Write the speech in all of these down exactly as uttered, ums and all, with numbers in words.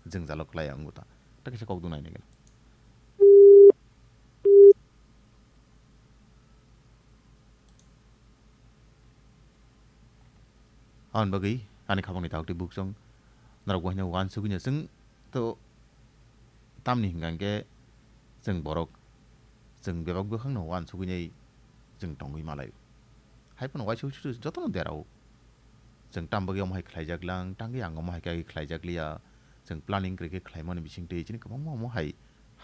jwngjalo klai ya wngbo ta. Ta kisa kok dwnai nai gana. Aboni bagwi ani khabangni takhuk tei bukhuk chwng norok bo haino uansugwi no chwng to tamni hwnkha hwnkhe chwng borok chwng bebak bwkhakno uansugwi nai chwng tongwi malai. Hai phano uaisuk suk jotono derao. Chwng tam bagwi omo hai khlaijak lang, tangwi ang omo hai khe khlaijak liya. Chwng planning kwrwi khe khlaimani bisingtwi chini kwbangma omo hai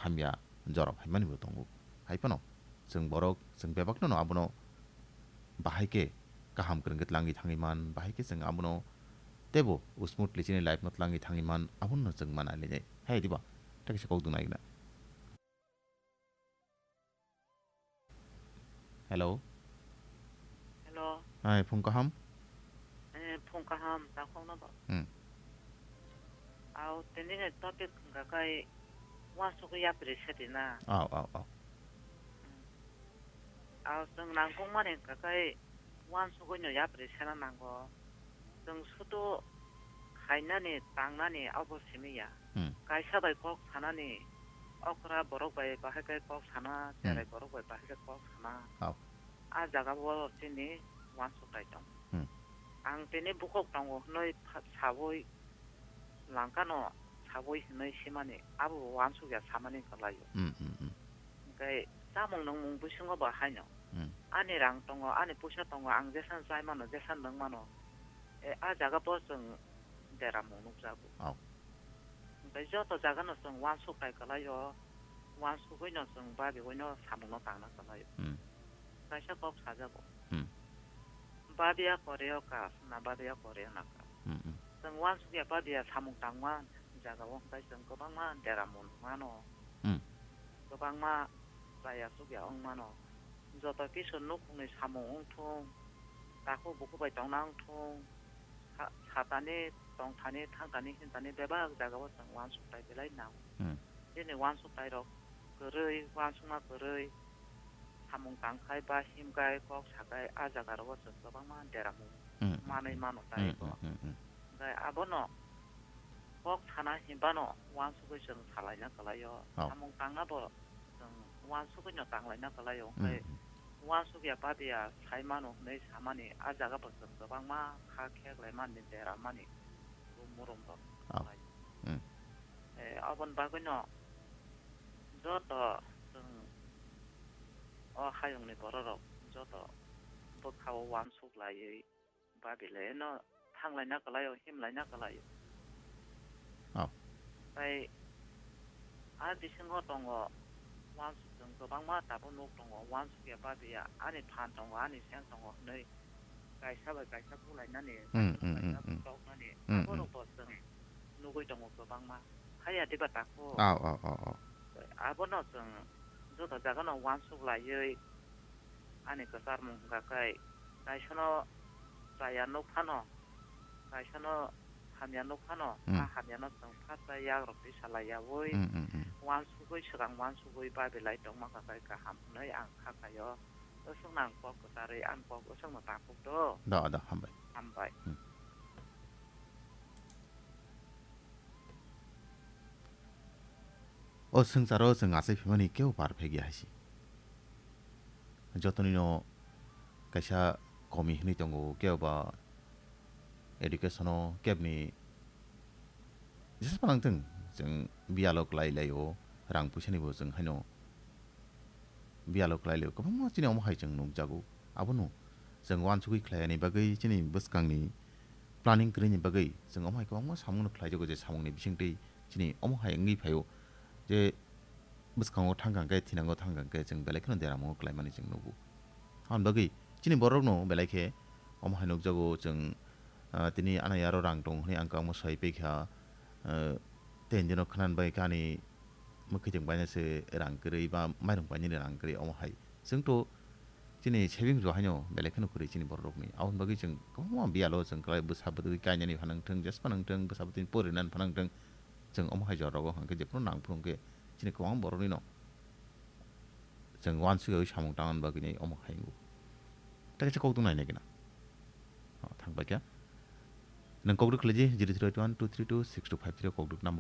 hamya jora phaimani bo tongo. Hai phano chwng borok, chwng bebakno no abono bahai khe kaham kwrwng khe tlangwi thangwi man, bahai khe chwng abono teibo smoothly chini life no tlangwi thangwi man, abono chwng mana linai. Hai diba? Ta kisa kok dwnai gana. Hello. Hello. Hai, phung kaham? Eh, phung kaham, takhokno bo. Hmm. Au, tini ni topic hwnkha kai uansugwi yapri sadi na. Au, au, au. Hmm. Au, chwng nangkukmani hwnkha kai uansugwi no yapri sana nango. Chwng sudu khainani, tangnani abo simi ya. Hmm. Kaisa bai kok sanani, okra borok bai bahai khe kok sana, hmm, cherai borok bai bahai khe kok sana. Hao. A jaga o chini uansuk tai tong. Hmm. Ang tini bukhuk tongo hwnwi pha-, sawi langkano, sawi hwnwi simani, abo bo uansuk ya samani kwlai o. Hmm, hmm, hmm. Hwnkhe chamung nungmung bisingo bo haino. Hmm. Ani rang tongo, ani puisa tongo, ang jesa chai mano, jesa nung mano. E, a jaga bo chwng deramung nukjago. Oh. Hwnkhe joto jagano chwng uansuk tai kwlai o, uansugwi no chwng babiwi no samung no tangna kwlai o. Hmm. Kaisa kok sajago. Hmm. Babiya koreo kas, na babiya koreo na kas. Hmm, hmm. Chwng uansuk ya babiya samung tangma jaga o hwnkhe chwng kwbangma deramung mano. Hmm. Kwbangma chaya chukya wng mano. Joto kisu nukhungni samung wng thung, takhuk bukhuk bai tongna wng thung, sa-, satani, tongthani, thangthani, hintani bebak jagao chwng uansuk tai belai nango. Hmm. Chini uansuk tai rok kwrwi, uansukma kwrwi, samung tangkhai ba himkhai, kok sakhai, a jaga rogo chwng kwbangma deramung, hmm, hmm, manwi, hmm, mano tai, hmm, bo. Hmm, hmm, hmm. Hwnkhe abono kok sana hinbano uansugwi chwng salaina kwlaio. Oh. Samung tangna bo chwng uansugwino tanglaina kwlaio, hwnkhe, mm, mm, uansukya babiya sai mano hwnwi samani a jaga bo chwng kwbangma kha kheklai mani, dera mani, bo murum rok, oh, khlai. Mm. Eh, aboni bagwino joto chwng o hayungni bororok joto bwkhao uansuk laiwi babileno thanglaina kwlaio, himlaina kwlaio. Oh. Tai a bisingo tongo, uansuk chwng kwbangma tabuk nuk tongo, uansukya babiya, ani phan tongo, ani seng tongo hwnwi kaisa bai kaisa bulainani, hmm, kaisa bai, hmm, kaisa, hmm, hmm, butoknani, hmm, hmm, aborokbo chwng nugwi tongo kwbangma. Haya diba takhuk? Oh, oh, oh, oh. Abono chwng joto jagano uansuk laiwi ani kwcharmung hwnkha khe, kaisano chaya nuk phano, kaisano hamya nuk phano, hmm, a hamyano chwng phatsa yagrok twi salai yaui, hmm, hmm, hmm, uansugwi, swkang uansugwi babilai tongma kha khe kaham hwnwi ang kha khaio. Bwswkno ang kok kwcharwi, ang kok bwswkno takhuk do. Do, do, hambai. Hambai. Hmm. O swngcharo chwng achai phaimani kebo perfect ya hai se. Jotonino kaisa komi hwnwi tongo, kebo ba education-o kebni jesa phano wngthung, chwng biyalo kwlai lai o, rang puisani bo chwng haino biyalo kwlai lai o, kwbangma chini omo hai chwng nukjago. Abono chwng uansugwi khlai yani bagwi, chini bwskangni planning kwrwini bagwi chwng omo hai kwbangma samungno khlaijago, je samungni bisingtwi chini omo hai wngwi phaio je bwskango thangkang khe, thinango thangkang khe, chwng belai kheno deramungo khlaimani chwng nugo. Aboni bagwi chini borokno belai khe omo hai nukjago chwng, ah, tini anai aro rang tongo hwnwi ang kwbangma soi paikha, ah, tei hinjeno khwnani bai khe ani mwkhwtwng bainase rang kwrwi ba mairung bainani rang kwrwi omo hai. Chwngto chini savings bo haino belai kheno kwrwi chini bororokni. Aboni bagwi chwng kwbangma biyalo chwng kwlai bwsa bwtwi kainani phanang thwng, jesphano wngthwng, bwsa bwtwini porinani phanang thwng, chwng omo hai jora rogo hwnkhe jephuru nang phuru hwnkhe chini kwbangma boroknino chwng uansukyaui samung tangna bagwini omo hai wngo. Tei kaisa kokduk nainai gana. O, thang paikha. Nwng kokduk khlaidi, zero three eight one two three two six two five three o kokduk number o.